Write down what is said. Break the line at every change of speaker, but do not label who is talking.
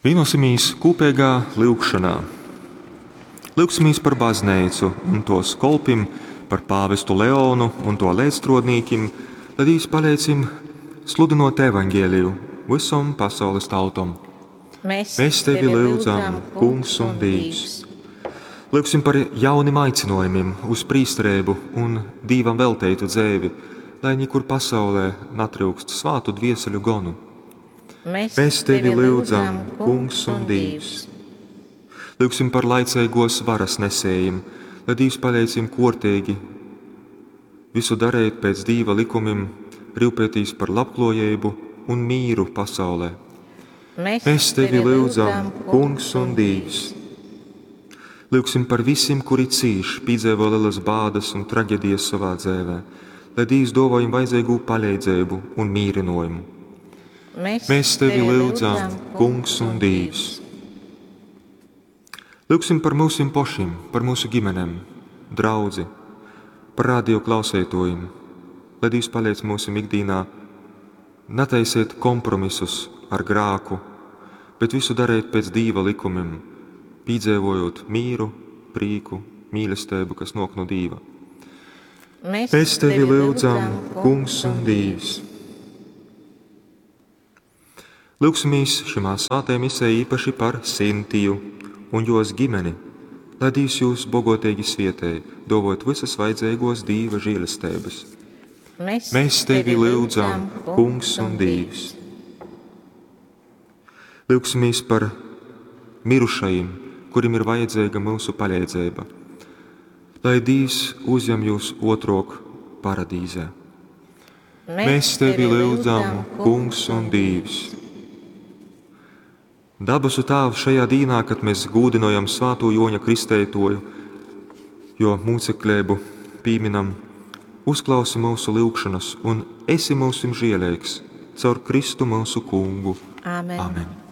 Vienosimies kūpeigā lyugšanā. Lyugsimies par bazneicu un tos kolpim, par pāvestu Leonu un to leidzstrodnīkim, lai Dīvs paleidz jim sludinot evaņģēliju visom pasaules tautom.
Mēs,
Mēs tevi lyudzam, Kungs un Dīvs. Lyugsim par jaunim aicinojumiem uz prīsterību un Dīvam velteitu dzeivi, lai nekur pasaulē natryukst svātu dvieseļu gonu.
Mēs,
Mēs tevi lyudzam, Kungs un Dīvs. Lyugsim par laicīgos varas nesējiem, lai Dīvs paleidz jim kortīgi visu darīt pēc Dīva likumiem, rūpēties par labklājību un mīru pasaulē.
Mēs,
Mēs tevi lyudzam, Kungs un Dīvs. Lyugsim par visiem, kuri cīš, piedzīvo lielas bādas un traģēdijas savā dzīvē, lai Dīvs dāvā viņiem vajadzīgo palīdzību un mierinājumu.
Mēs,
Mēs tevi lyudzam, Kungs un Dīvs. Lyugsim par mūsim pašiem, par mūsu ģimenēm, draudzi, par radio klausētojiem, lai Dīvs paliec mūsu ikdienā, netaisiet kompromisus ar grāku, bet visu darīt pēc Dīva likumiem, piedzīvojot mīru, prīku, mīlestību, kas nāk no Dīva.
Mēs,
Mēs tevi lyudzam, Kungs un Dīvs. Lūgsimies šimā svētajā misē īpaši par Sintiju un jos ģimeni, lai Dīvs jūs bogotīgi svietēj, dovot visas vajadzīgos Dīva žēlestības.
Mēs,
Mēs tevi lyudzam, Kungs un Dīvs. Lūgsimies par mirušajiem, kuriem ir vajadzīga mūsu palīdzība. Lai Dīvs uzņem jūs otrok paradīzē. Mēs tevi lyudzam, Kungs un Dīvs. Dabasu Tēvs, šajā dīnā, kad mēs gūdinojam Svēto Joņa Kristētoju, jo mūcekļēbu pīminam, uzklausi mūsu lūgšanas un esi mūsim žielīgs caur Kristu mūsu kungu.
Āmen.
Amen.